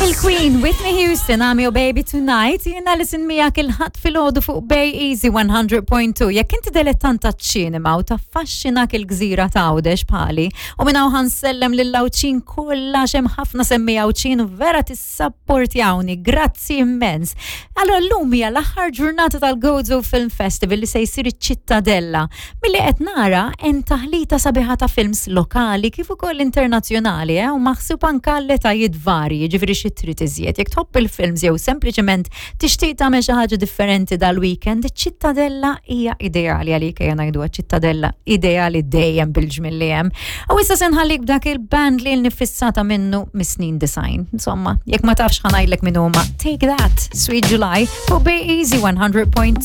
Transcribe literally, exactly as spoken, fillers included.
Il-Queen, Whitney Houston, I'm Your Baby Tonight, jiena Alison miegħek il-Ħadd filgħodu fuq Bay Easy one hundred point two. Jekk inti dilettant ta' ċinema u taffaxxinak il-gżira ta' Għawdex bħali, u minn hawn ħa nsellem lill-Għawdxin kollha, hemm ħafna semmi Għawdxin u vera tissapportjawni, grazzi immens. Allora llum hija l-aħħar ġurnata tal-Gozo Film Festival li se jsir iċ-Ċittadella. Milli qed nara hemm taħlita sabiħa ta' films lokali kif ukoll internazzjonali, eh, u maħsub anka l-etajiet varji, ġifieri xi trid iżjed. Jekk tħobb il-films jew sempliċement tixtieq tagħmel xi ħaġa differenti dal-weekend, iċ-Ċittadella hija ideali għalik. Ejja ngħidu ċittadella ideali dejjem bil-ġmil li hemm. U issa se nħallik b'dak il-band li nifissata minnu mis-snin disgħin. Insomma, jekk ma tafx, ħa ngħidlek min huma. Take That, Sweet July, fuq Bay Easy one hundred point two.